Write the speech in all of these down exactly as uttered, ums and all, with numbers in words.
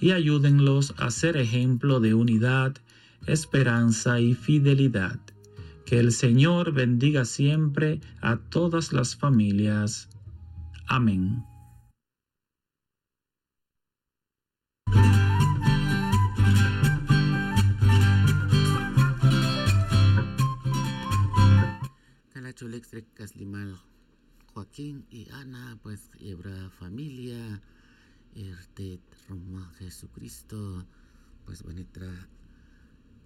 y ayúdenlos a ser ejemplo de unidad, esperanza y fidelidad. Que el Señor bendiga siempre a todas las familias. Amén. Cala chulex re caslimal Joaquín y Ana, pues, y hebra familia, y rtet roma Jesucristo, pues, bonitra.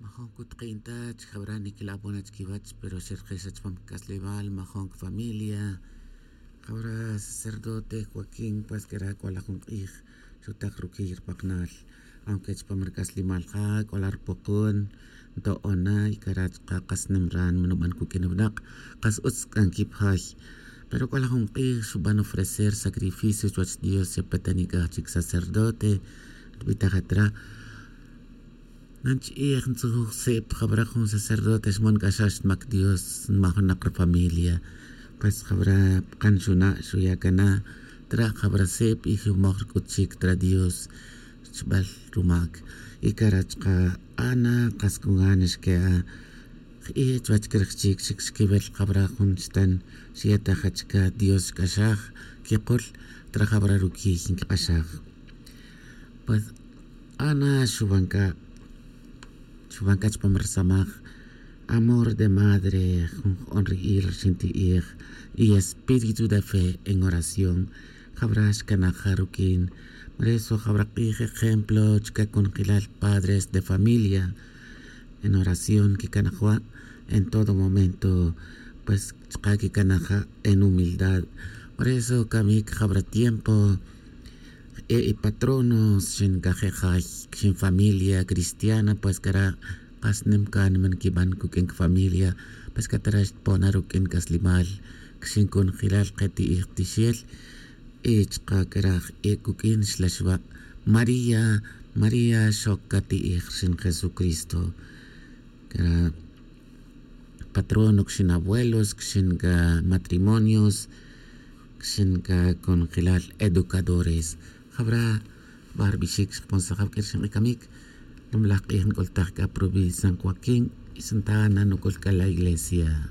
Majun cutkin ta chijabra niquilabona chiquiwach, pero xerkexa chupam caslimal majun familia. Jabra sacerdote Joaquín, pues, quera c'ola jun k'ij xutak ruquiy rpaknal. Aunque chupam rcaslimal ja c'ola rpokon, nto'ona y cara chka kas nimran manuban cuq'uin winak, kas utz c'a nquipjay. Pero c'ola jun k'ij xuban ofrecer sacrificio chuwach Dios, xepetanic'aj chic sacerdote. Rbitajat ra, nanch'ij ntzujuj sip jabra jun sacerdote xmon c'a xa xmac Dios nmajunak rfamilia. Pues jabra pkan xuna' xuya' cana tra jabra sip y xumoj rc'ut chic tra Dios. Chbal rumac y cara chka Ana, kas congana xque'a jk'iy chuwach craj chic chic xquiwil jabra jun xtan xyetaja chica Dios xc'axaj quikul tra jabra ruquiy nquik'axaj. Pues Ana xuban c'a, xuban c'a chupam rsamaj amor de madre, jun j'on ri'il rxin ti'ij y espíritu de fe en oración. Jabra xcanaja ruq'uin. Por eso jabra k'ij ejemplo chka conjelal padres de familia en oración quicanaja en todo momento. Pues chka quicanaja en humildad. Por eso camic jabra tiempo e' y patronos xin cajejay xin familia cristiana, pues cara' kas nim cánima nquiban cuq'uin cafamilia. Pues catara' xtpona ruq'uin c'aslimal xin conjelal keti'ij tixel. Y chka cara' e' cuq'uin xlaxwa' maría, maría xoc cati'ij rxin jesucristo. Cara' patrono cxin abuelos cxin ca matrimonios cxin ca conjelal educadores. Jabra barbixic xkponsaj jab q'uir xin k'icamic. Lum laj k'ij nc'ultaj c'a provincia san joaquín y santana nuc'ul c'a la iglesia.